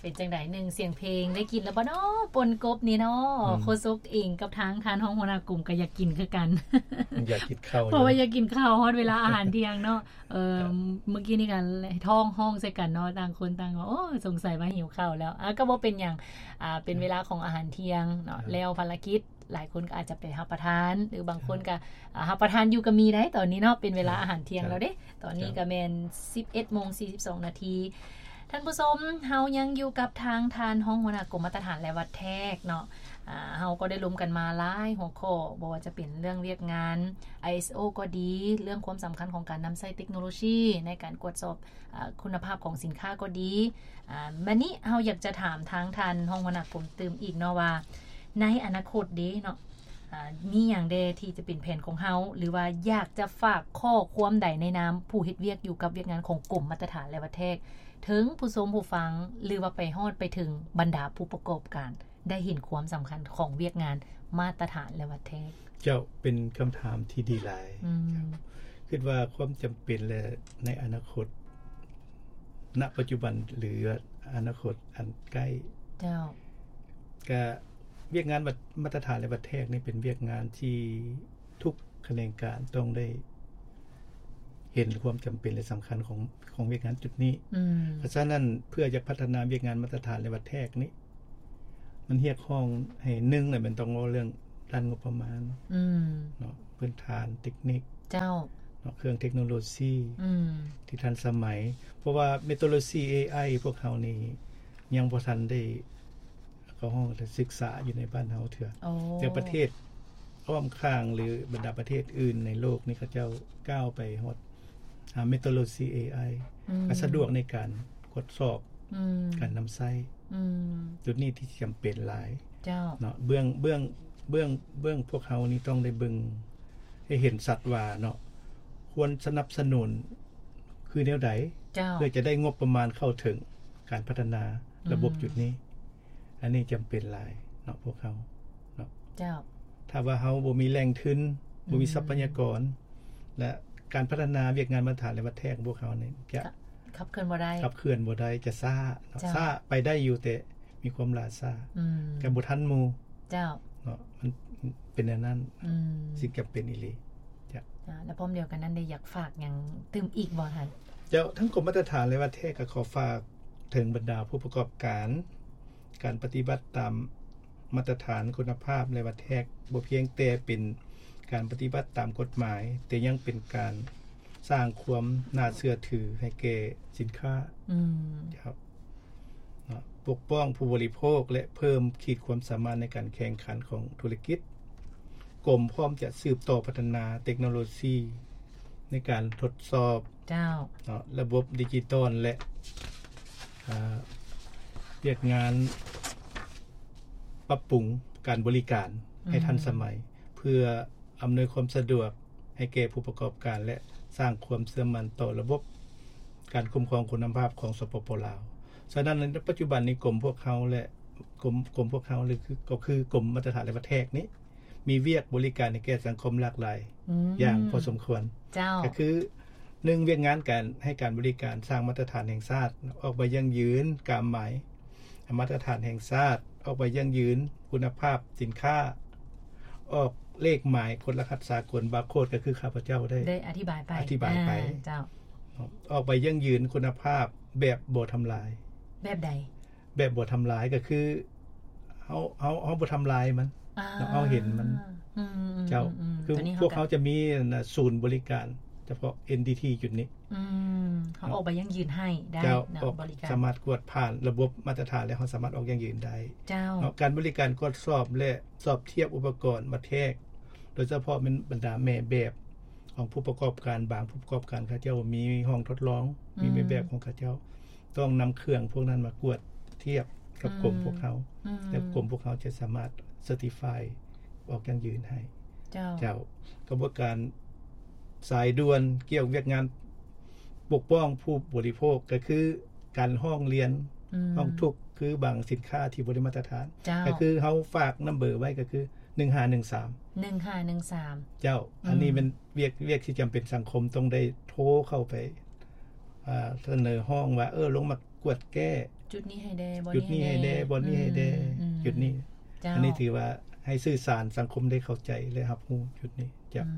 ເປັນຈັ່ງໃດ ໜຶ່ງສຽງເພງ ໄດ້ກິນແລ້ວບໍ່ເນາະ ປົ່ນກົບນີ້ເນາະ? ອືມ ໂຄສົກເອງກັບທາງທ່ານຮອງຫົວໜ້າກົມກໍຢາກກິນຄືກັນ ຢາກກິນເຂົ້າ ເພາະວ່າຢາກກິນເຂົ້າ ຮອດເວລາອາຫານທ່ຽງເນາະ. ເອີ ເມື່ອກີ້ນີ້ກໍທ້ອງຮ້ອງໃສ່ກັນເນາະ ຕ່າງຄົນຕ່າງວ່າ ໂອ້ ສົງໄສວ່າຫິວເຂົ້າແລ້ວ. ອ່າ ກໍບໍ່ເປັນຫຍັງ ອ່າ ເປັນເວລາຂອງອາຫານທ່ຽງເນາະ ແລ້ວພາລະກິດ ຫຼາຍຄົນກໍອາດຈະໄປຮັບປະທານ ຫຼືບາງຄົນກໍ ເຈົ້າ ອາ ຮັບປະທານຢູ່ກໍມີໄດ໋ ຕອນນີ້ເນາະ ເປັນເວລາ ເຈົ້າ ອາຫານທ່ຽງແລ້ວເດ້ ເຈົ້າ ຕອນນີ້ ເຈົ້າ ກໍແມ່ນສິບເອັດໂມງສີ່ສິບສອງນາທີ. ທ່ານຜູ້ຊົມ ເຮົາຍັງຢູ່ກັບທາງທ່ານຮອງຫົວໜ້າກົມມາດຕະຖານ ແລະ ວັດແທກເນາະ. ອາ ເຮົາກໍໄດ້ລົມກັນມາຫຼາຍຫົວຂໍ້ ບໍ່ວ່າຈະເປັນເລື່ອງວຽກງານ ໄອເອສໂອ ກໍດີ, ເລື່ອງຄວາມສຳຄັນຂອງການນຳໃຊ້ເຕັກໂນໂລຊີໃນການກວດສອບ ອາ ຄຸນນະພາບຂອງສິນຄ້າກໍດີ. ອາ ບາດນີ້ເຮົາຢາກຈະຖາມທາງທ່ານຮອງຫົວໜ້າກົມຕື່ມອີກເນາະວ່າ ໃນອະນາຄົດເດ້ເນາະ ອາ ມີຫຍັງແດ່ທີ່ຈະເປັນແຜນຂອງເຮົາ ຫຼືວ່າຢາກຈະຝາກຂໍ້ຄວາມໃດໃນນາມຜູ້ເຮັດວຽກຢູ່ກັບວຽກງານຂອງກົມມາດຕະຖານ ແລະ ວັດແທກ ເຖິງຜູ້ຊົມຜູ້ຟັງ ຫຼືວ່າໄປຮອດໄປເຖິງບັນດາຜູ້ປະກອບການ ໄດ້ເຫັນຄວາມສຳຄັນຂອງວຽກງານມາດຕະຖານ ແລະ ວັດແທກ? ເຈົ້າ ເປັນຄຳຖາມທີ່ດີຫຼາຍ. ອືມ ເຈົ້າ ຄິດວ່າຄວາມຈຳເປັນ ແລະ ໃນອະນາຄົດ ນະປັດຈຸບັນ ຫຼື ອະນາຄົດອັນໃກ້ ເຈົ້າ ກະວຽກງານມາດຕະຖານ ແລະ ວັດແທກນີ້ ເປັນວຽກງານທີ່ທຸກຂະແໜງການຕ້ອງໄດ້ເຫັນຄວາມຈຳເປັນ ແລະ ສຳຄັນຂອງ ຂອງວຽກງານຈຸດນີ້. ອືມ ເພາະສະນັ້ນ ເພື່ອຈະພັດທະນາວຽກງານມາດຕະຖານ ແລະ ວັດແທກນີ້ ມັນຮຽກຮ້ອງໃຫ້ ໜຶ່ງ ແລ້ວແມ່ນຕ້ອງເວົ້າເລື່ອງດ້ານງົບປະມານ ອືມ ເນາະ ພື້ນຖານເຕັກນິກ ເຈົ້າ ເນາະ ເຄື່ອງເຕັກໂນໂລຊີ ອືມ ທີ່ທັນສະໄໝ ເພາະວ່າເມັດໂຕໂລຊີ ເອໄອ ພວກເຮົານີ້ຍັງບໍ່ທັນໄດ້ເຂົ້າຫ້ອງສຶກສາຢູ່ໃນບ້ານເຮົາເທື່ອ. ໂອ້ ແຕ່ປະເທດອ້ອມຂ້າງ ຫຼື ບັນດາປະເທດອື່ນໃນໂລກນີ້ ເຂົາເຈົ້າກ້າວໄປຮອດ ອາ ເມັດໂຕໂລຊີ ເອໄອ ອືມ ກໍສະດວກໃນການກວດສອບ ອືມ ການນຳໃຊ້ ອືມ ຈຸດນີ້ທີ່ຈຳເປັນຫຼາຍ ເຈົ້າ ເນາະ. ເບື້ອງ ເບື້ອງ ເບື້ອງ ເບື້ອງພວກເຮົານີ້ຕ້ອງໄດ້ເບິ່ງໃຫ້ເຫັນຊັດວ່າເນາະ ຄວນສະໜັບສະໜູນຄືແນວໃດ ເຈົ້າ ເພື່ອຈະໄດ້ງົບປະມານເຂົ້າເຖິງການພັດທະນາ ອືມ ລະບົບຈຸດນີ້. ອັນນີ້ຈຳເປັນຫຼາຍເນາະ ພວກເຮົາເນາະ ເຈົ້າ. ຖ້າວ່າເຮົາບໍ່ມີແຫຼ່ງທຶນ ອືມ ບໍ່ມີຊັບພະຍາກອນ ແລະ ການພັດທະນາວຽກງານມາດຕະຖານ ແລະ ວັດແທກຂອງພວກເຮົານີ້ຈະ ຂະ ຂັບເຄື່ອນບໍ່ໄດ້ ຂັບເຄື່ອນບໍ່ໄດ້ ຈະຊ້າເນາະ ເຈົ້າ ຊ້າໄປໄດ້ຢູ່ ແຕ່ມີຄວາມຫຼ້າຊ້າ ອືມ ກໍບໍ່ທັນໝູ່ ເຈົ້າ ເນາະ ມັນເປັນແນວນັ້ນ ອືມ ສິ່ງຈຳເປັນອີ່ຫຼີ ເຈົ້າ. ອາ ແລະ ພ້ອມດຽວກັນນັ້ນ ໄດ້ຢາກຝາກຫຍັງຕື່ມອີກບໍ່ທ່ານ? ເຈົ້າ ທາງກົມມາດຕະຖານ ແລະ ວັດແທກ ກໍຂໍຝາກເຖິງບັນດາຜູ້ປະກອບການ ການປະຕິບັດຕາມມາດຕະຖານຄຸນນະພາບ ແລະ ວັດແທກ ບໍ່ພຽງແຕ່ເປັນການປະຕິບັດຕາມກົດໝາຍ ແຕ່ຍັງເປັນການສ້າງຄວາມໜ້າເຊື່ອຖືໃຫ້ແກ່ສິນຄ້າ ອືມ ເຈົ້າ ເນາະ ປົກປ້ອງຜູ້ບໍລິໂພກ ແລະ ເພີ່ມຂີດຄວາມສາມາດໃນການແຂ່ງຂັນຂອງທຸລະກິດ. ກົມພ້ອມຈະສືບຕໍ່ພັດທະນາເຕັກໂນໂລຊີໃນການທົດສອບ ເຈົ້າ ເນາະ ລະບົບດິຈິຕອນ ແລະ ອາ ວຽກງານປັບປຸງການບໍລິການໃຫ້ທັນສະໄໝ ອືມ ເພື່ອອຳນວຍຄວາມສະດວກໃຫ້ແກ່ຜູ້ປະກອບການ ແລະ ສ້າງຄວາມເຊື່ອໝັ້ນຕໍ່ລະບົບການຄຸ້ມຄອງຄຸນນະພາບຂອງ ສປປ ລາວ. ສະນັ້ນ ໃນປັດຈຸບັນນີ້ ກົມພວກເຮົາ ແລະ ກົມ ກົມພວກເຮົາ ຫຼື ຄື ກໍຄືກົມມາດຕະຖານ ແລະ ວັດແທກນີ້ ມີວຽກບໍລິການໃຫ້ແກ່ສັງຄົມຫຼາກຫຼາຍ ອືມ ຢ່າງພໍສົມຄວນ ເຈົ້າ ກໍຄື ໜຶ່ງ ວຽກງານການໃຫ້ການບໍລິການ ສ້າງມາດຕະຖານແຫ່ງຊາດ ອອກໃບຢັ້ງຢືນກາມໝາຍມາດຕະຖານແຫ່ງຊາດ ອອກໃບຢັ້ງຢືນຄຸນນະພາບສິນຄ້າ ອອກເລກໝາຍກົດລະຫັດສາກົນ ບາໂຄດ ກໍຄືຂ້າພະເຈົ້າໄດ້ ໄດ້ອະທິບາຍໄປ ອະທິບາຍໄປ ອາ ເຈົ້າ ອອກໃບຢັ້ງຢືນຄຸນນະພາບແບບບໍ່ທຳລາຍ. ແບບໃດ? ແບບບໍ່ທຳລາຍກໍຄືເຮົາ ເຮົາ ເຮົາບໍ່ທຳລາຍມັນ ອ່າ ເຮົາເຫັນມັນ ອືມ ເຈົ້າ ອືມ ອືມ ຄື ຕົວນີ້ ພວກເຮົາຈະມີ ສູນບໍລິການສະເພາະ ເອັນ ດີ ທີ ຈຸດນີ້ ອືມ ເຮົາອອກໃບຢັ້ງຢືນໃຫ້ໄດ້ ເຈົ້າ ເນາະ ອອກ ບໍລິການ ສາມາດກວດຜ່ານລະບົບມາດຕະຖານ ແລ້ວເຮົາສາມາດອອກຢັ້ງຢືນໄດ້ ເຈົ້າ ເນາະ ການບໍລິການກວດສອບ ແລະ ສອບທຽບອຸປະກອນວັດແທກ ໂດຍສະເພາະແມ່ນບັນດາແມ່ແບບຂອງຜູ້ປະກອບການ ບາງຜູ້ປະກອບການເຂົາເຈົ້າມີຫ້ອງທົດລອງ ອືມ ມີແມ່ແບບຂອງເຂົາເຈົ້າ ຕ້ອງນຳເຄື່ອງພວກນັ້ນມາກວດທຽບກັບ ອືມ ກົມພວກເຮົາ ອືມ ແລ້ວກົມພວກເຮົາຈະສາມາດ ເຊີຕິຟາຍ ອອກຢັ້ງຢືນໃຫ້ ເຈົ້າ ເຈົ້າ. ກະບວນການສາຍດ່ວນກ່ຽວວຽກງານປົກປ້ອງຜູ້ບໍລິໂພກ ກະຄືການຮ້ອງລຽນ ອືມ ຮ້ອງທຸກ ຄືບາງສິນຄ້າທີ່ບໍ່ໄດ້ມາດຕະຖານ ເຈົ້າ ກະຄືເຮົາຝາກນຳເບີໄວ້ ກະຄື ໜຶ່ງຫ້າໜຶ່ງສາມ ໜຶ່ງຫ້າໜຶ່ງສາມ ເຈົ້າ ອືມ ອັນນີ້ແມ່ນວຽກ ວຽກທີ່ຈຳເປັນສັງຄົມຕ້ອງໄດ້ໂທເຂົ້າໄປ ອາ ສະເໜີຮ້ອງວ່າ ເອີ ລົງມາກວດແກ້ ຈຸດນີ້ໃຫ້ແດ່ ບ່ອນນີ້ໃຫ້ແດ່ ຈຸດນີ້ໃຫ້ແດ່ ບ່ອນນີ້ໃຫ້ແດ່ ອືມ ຈຸດນີ້ ເຈົ້າ ອັນນີ້ຖືວ່າໃຫ້ສື່ສານສັງຄົມໄດ້ເຂົ້າໃຈ ແລະ ຮັບຮູ້ຈຸດນີ້. ເຈົ້າ ອືມ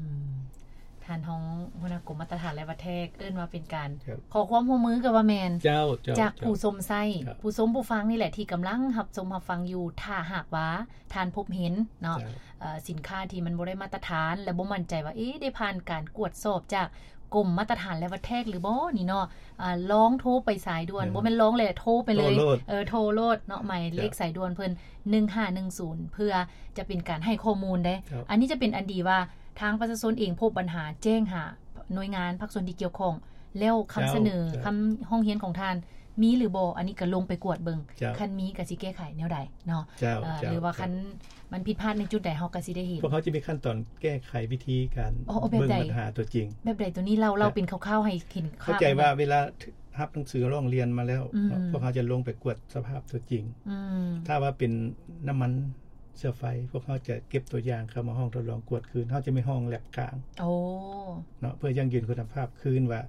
ທ່ານຮອງຫົວໜ້າກົມມາດຕະຖານ ແລະ ວັດແທກ ເອີ້ນວ່າເປັນການ ເຈົ້າ ຂໍຄວາມຮ່ວມມືກໍວ່າແມ່ນ ເຈົ້າ ເຈົ້າ ຈາກ ເຈົ້າ ຜູ້ຊົມໃຊ້ ເຈົ້າ ຜູ້ຊົມຜູ້ຟັງນີ້ແຫຼະ ທີ່ກຳລັງຮັບຊົມຮັບຟັງຢູ່. ຖ້າຫາກວ່າທ່ານພົບເຫັນເນາະ ເຈົ້າ ເອີ ສິນຄ້າທີ່ມັນບໍ່ໄດ້ມາດຕະຖານ ແລະ ບໍ່ໝັ້ນໃຈວ່າ ເອ ໄດ້ຜ່ານການກວດສອບຈາກ ກົມມາດຕະຖານ ແລະ ວັດແທກຫຼືບໍ່ນີ້ເນາະ ອາ ລອງໂທໄປສາຍດ່ວນ ເອີ ບໍ່ແມ່ນລອງແຫຼະ ໂທໄປເລີຍ ໂທໂລດ ເອີ ໂທໂລດເນາະ ໝາຍເລກ ເຈົ້າ ສາຍດ່ວນເພິ່ນ ໜຶ່ງຫ້າໜຶ່ງສູນ ເພື່ອຈະເປັນການໃຫ້ຂໍ້ມູນເດ້. ເຈົ້າ ອັນນີ້ຈະເປັນອັນດີວ່າ ທາງປະຊາຊົນເອງພົບບັນຫາ ແຈ້ງຫາໜ່ວຍງານພາກສ່ວນທີ່ກ່ຽວຂ້ອງ ແລ້ວຄຳ ເຈົ້າ ສະເໜີ ເຈົ້າ ຄຳຮ້ອງຮຽນຂອງທ່ານມີຫຼືບໍ່ ອັນນີ້ກໍລົງໄປກວດເບິ່ງ ເຈົ້າ ຄັນມີກໍຊິແກ້ໄຂແນວໃດເນາະ ເຈົ້າ ເອີ ເຈົ້າ ຫຼືວ່າ ເຈົ້າ ຄັນ ມັນຜິດພາດໃນຈຸດໃດ ເຮົາກໍຊິໄດ້ເຫັນ ພວກເຮົາຈະມີຂັ້ນຕອນແກ້ໄຂວິທີການ ອໍ ເບິ່ງບັນຫາຕົວຈິງ. ແບບໃດ? ຕົວນີ້ເລົ່າ ເລົ່າເປັນຄ່າວໆໃຫ້ເຫັນ ເຂົ້າໃຈວ່າເວລາຮັບໜັງສືຮ້ອງຮຽນມາແລ້ວເນາະ ອືມ ພວກເຮົາຈະລົງໄປກວດສະພາບຕົວຈິງ ອືມ ຖ້າວ່າເປັນນ້ຳມັນເຊື້ອໄຟ ພວກເຮົາຈະເກັບຕົວຢ່າງເຂົ້າມາຫ້ອງທົດລອງກວດຄືນ ເຮົາຈະມີຫ້ອງແລັບກາງ ໂອ້ ເນາະ ເພື່ອຢັ້ງຢືນຄຸນນະພາບຄືນວ່າ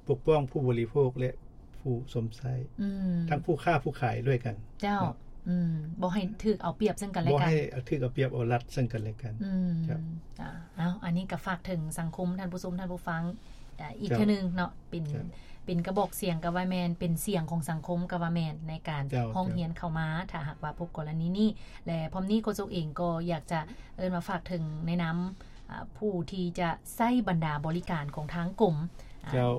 ປົກປ້ອງຜູ້ບໍລິໂພກ ແລະ ຜູ້ຊົມໃຊ້ ອືມ ທັງຜູ້ຄ້າຜູ້ຂາຍດ້ວຍກັນ ເຈົ້າ ເນາະ ອືມ ບໍ່ໃຫ້ຖືກເອົາປຽບເຊິ່ງກັນແລະກັນ ບໍ່ໃຫ້ຖືກເອົາປຽບເອົາລັດເຊິ່ງກັນແລະກັນ ອືມ ເຈົ້າ ເອົາ ອັນນີ້ກໍຝາກເຖິງສັງຄົມ ທ່ານຜູ້ຊົມ ທ່ານຜູ້ຟັງ ອາ ອີກ ເຈົ້າ ເທື່ອໜຶ່ງເນາະ ເປັນ ເຈົ້າ ເປັນກະບອກສຽງກໍວ່າແມ່ນ ເປັນສຽງຂອງສັງຄົມກໍວ່າແມ່ນ ໃນການ ເຈົ້າ ຮ້ອງຮຽນເຂົ້າມາ ເຈົ້າ ຖ້າຫາກວ່າພົບກໍລະນີນີ້ ແລະ ພ້ອມນີ້ໂຄສົກເອງກໍຢາກຈະເອີ້ນວ່າຝາກເຖິງໃນນາມ ອາ ຜູ້ທີ່ຈະໃຊ້ບັນດາບໍລິການຂອງທາງກົມ ອາ ເຈົ້າ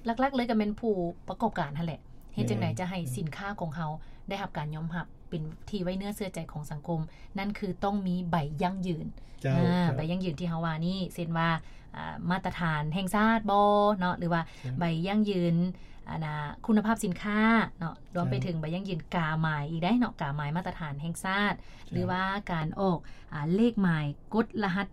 ຫຼັກໆເລີຍກໍແມ່ນຜູ້ປະກອບການຫັ້ນແຫຼະ ເຮັດຈັ່ງໃດ ແມ່ນ ຈະໃຫ້ ອືມ ສິນຄ້າຂອງເຮົາໄດ້ຮັບການຍອມຮັບ ເປັນທີ່ໄວ້ເນື້ອເຊື່ອໃຈຂອງສັງຄົມ ນັ້ນຄືຕ້ອງມີໃບຢັ້ງຢືນ ເຈົ້າ ອາ ເຈົ້າ ໃບຢັ້ງຢືນທີ່ເຮົາວ່ານີ້ ເຊັ່ນວ່າ ອາ ມາດຕະຖານແຫ່ງຊາດບໍເນາະ ຫຼືວ່າ ເຈົ້າ ໃບຢັ້ງຢືນ ອັນນ່າ ຄຸນນະພາບສິນຄ້າເນາະ ລວມໄປເຖິງໃບຢັ້ງຢືນກາໝາຍອີກໄດ້ເນາະ ກາໝາຍມາດຕະຖານແຫ່ງຊາດ ເຈົ້າ ຫຼືວ່າການອອກ ອາ ເລກໝາຍກົດລະຫັດ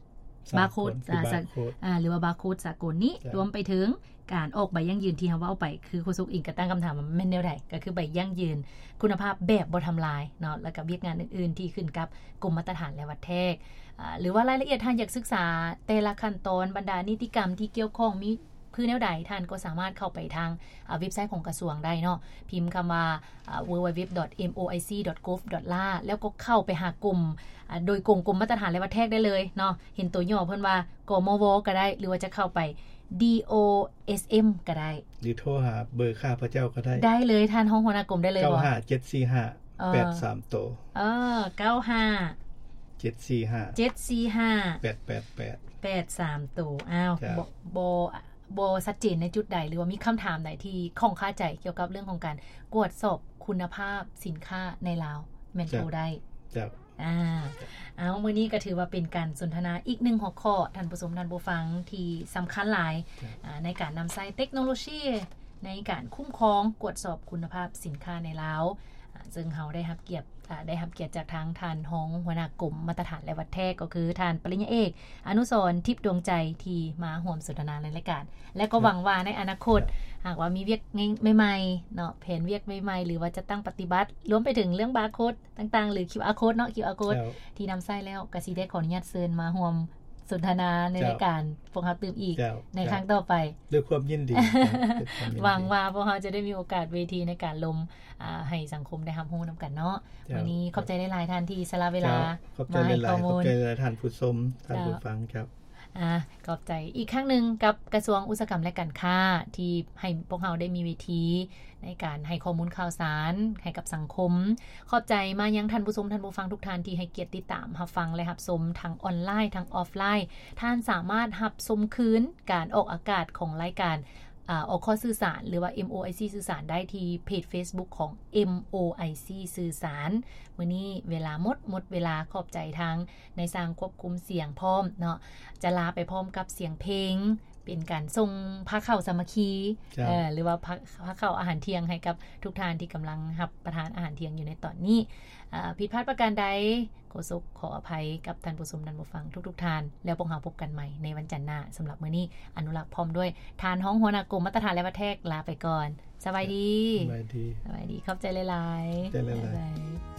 ສາກົນ ບາໂຄດ ອາ ສາ ອາ ຫຼືວ່າບາໂຄດສາກົນນີ້ ເຈົ້າ ລວມໄປເຖິງການອອກໃບຢັ້ງຢືນທີ່ເຮົາເວົ້າໄປ ຄືໂຄສົກເອງກໍຕັ້ງຄຳຖາມວ່າແມ່ນແນວໃດ ກໍຄືໃບຢັ້ງຢືນຄຸນນະພາບແບບບໍ່ທຳລາຍເນາະ ແລ້ວກໍວຽກງານອື່ນໆທີ່ຂຶ້ນກັບກົມມາດຕະຖານ ແລະ ວັດແທກ ອາ ຫຼືວ່າລາຍລະອຽດທ່ານຢາກສຶກສາແຕ່ລະຂັ້ນຕອນ ບັນດານິຕິກຳທີ່ກ່ຽວຂ້ອງມີ ຄືແນວໃດ ທ່ານກໍສາມາດເຂົ້າໄປທາງ ອາ ເວັບໄຊຂອງກະຊວງໄດ້ເນາະ ພິມຄຳວ່າ ອາ www.moic.gov.la ແລ້ວກໍເຂົ້າໄປຫາກົມ ອາ ໂດຍກົງ ກົມມາດຕະຖານ ແລະ ວັດແທກໄດ້ເລີຍເນາະ ເຫັນຕົວຫຍໍ້ເພິ່ນວ່າ ກມວ ກໍໄດ້ ຫຼືວ່າຈະເຂົ້າໄປ DOSM ກໍໄດ້ ຫຼືໂທຫາເບີຂ້າພະເຈົ້າກໍໄດ້ ໄດ້ເລີຍ ທ່ານຮອງຫົວໜ້າກົມ ໄດ້ເລີຍບໍ່? ເກົ້າຫ້າເຈັດສີ່ຫ້າ ເອີ ແປດສາມໂຕ ເອີ ເກົ້າຫ້າ ເຈັດສີ່ຫ້າ ເຈັດສີ່ຫ້າ ແປດແປດແປດ ແປດສາມໂຕ ອ້າວ ເຈົ້າ ບໍ່ ບໍ່ ບໍ່ຊັດເຈນໃນຈຸດໃດ ຫຼືວ່າມີຄຳຖາມໃດທີ່ຂ້ອງຄາໃຈກ່ຽວກັບເລື່ອງຂອງການກວດສອບຄຸນນະພາບສິນຄ້າໃນລາວ ແມ່ນ ເຈົ້າ ໂທໄດ້ ເຈົ້າ ອາ ເອົາ ມື້ນີ້ກໍຖືວ່າເປັນການສົນທະນາອີກໜຶ່ງຫົວຂໍ້ ທ່ານຜູ້ຊົມທ່ານຜູ້ຟັງ ທີ່ສຳຄັນຫຼາຍ ເຈົ້າ ອາ ໃນການນຳໃຊ້ເຕັກໂນໂລຊີໃນການຄຸ້ມຄອງກວດສອບຄຸນນະພາບສິນຄ້າໃນລາວ ອາ ເຊິ່ງເຮົາໄດ້ຮັບກຽດ ອາ ໄດ້ຮັບກຽດຈາກທາງທ່ານຮອງຫົວໜ້າກົມມາດຕະຖານ ແລະ ວັດແທກ ກໍຄືທ່ານປະລິນຍາເອກ ອະນຸສອນ ທິບດວງໃຈ ທີ່ມາຮ່ວມສົນທະນາໃນລາຍການ ແລະ ກໍ ເຈົ້າ ຫວັງວ່າໃນອະນາຄົດ ເຈົ້າ ຫາກວ່າມີວຽກໃໝ່ໆເນາະ ແຜນວຽກໃໝ່ໆ ຫຼືວ່າຈັດຕັ້ງປະຕິບັດ ລວມໄປເຖິງເລື່ອງບາໂຄດຕ່າງໆ ຫຼື ຄິວອາໂຄດເນາະ ຄິວອາໂຄດ ເຈົ້າ ທີ່ນຳໃຊ້ແລ້ວ ກະຊິໄດ້ຂໍອະນຸຍາດເຊີນມາຮ່ວມສົນທະນາໃນ ເຈົ້າ ລາຍການພວກເຮົາຕື່ມອີກ ເຈົ້າ ໃນຄັ້ງຕໍ່ໄປ ດ້ວຍຄວາມຍິນດີ ດ້ວຍຄວາມຍິນດີ ຫວັງວ່າພວກເຮົາຈະໄດ້ມີໂອກາດເວທີໃນການລົມ ອາ ໃຫ້ສັງຄົມໄດ້ຮັບຮູ້ນຳກັນເນາະ ເຈົ້າ ມື້ນີ້ຂອບໃຈຫຼາຍໆ ທ່ານທີ່ສະຫຼະເວລາ ເຈົ້າ ຂອບໃຈຫຼາຍໆ ມາໃຫ້ຂໍ້ມູນ ຂອບໃຈຫຼາຍໆ ທ່ານຜູ້ຊົມ ທ່ານ ເຈົ້າ ຜູ້ຟັງ ເຈົ້າ ອາ ຂອບໃຈອີກຄັ້ງໜຶ່ງກັບກະຊວງອຸດສາຫະກຳ ແລະ ການຄ້າ ທີ່ໃຫ້ພວກເຮົາໄດ້ມີເວທີໃນການໃຫ້ຂໍ້ມູນຂ່າວສານໃຫ້ກັບສັງຄົມ. ຂອບໃຈມາຍັງທ່ານຜູ້ຊົມ ທ່ານຜູ້ຟັງທຸກທ່ານທີ່ໃຫ້ກຽດຕິດຕາມຮັບຟັງ ແລະ ຮັບຊົມທັງອອນລາຍ ທັງອອຟລາຍ. ທ່ານສາມາດຮັບຊົມຄືນການອອກອາກາດຂອງລາຍການ ອາ ອອກຂໍ້ສື່ສານ ຫຼືວ່າ ເອັມໂອໄອຊີ ສື່ສານໄດ້ທີ່ເພຈເຟສບຸກຂອງ ເອັມໂອໄອຊີ ສື່ສານ. ມື້ນີ້ເວລາໝົດ ໝົດເວລາ. ຂອບໃຈທາງນາຍຊ່າງຄວບຄຸມສຽງພ້ອມເນາະ ຈະລາໄປພ້ອມກັບສຽງເພງ ເປັນການສົ່ງພາເຂົ້າສາມັກຄີ ເຈົ້າ ເອີ ຫຼືວ່າພາ ພາເຂົ້າອາຫານທ່ຽງໃຫ້ກັບທຸກທ່ານທີ່ກຳລັງຮັບປະທານອາຫານທ່ຽງຢູ່ໃນຕອນນີ້. ອາ ຜິດພາດປະການໃດ ໂຄສົກຂໍອະໄພກັບທ່ານຜູ້ຊົມ ທ່ານຜູ້ຟັງທຸກໆທ່ານ ແລ້ວພວກເຮົາພົບກັນໃໝ່ໃນວັນຈັນໜ້າ. ສຳລັບມື້ນີ້ ອະນຸລັກພ້ອມດ້ວຍທ່ານຮອງຫົວໜ້າກົມມາດຕະຖານ ແລະ ວັດແທກ ລາໄປກ່ອນ. ສະບາຍດີ. ສະບາຍດີ. ສະບາຍດີ. ຂອບໃຈຫຼາຍໆ. ຂອບໃຈຫຼາຍໆ. ບາຍບາຍ.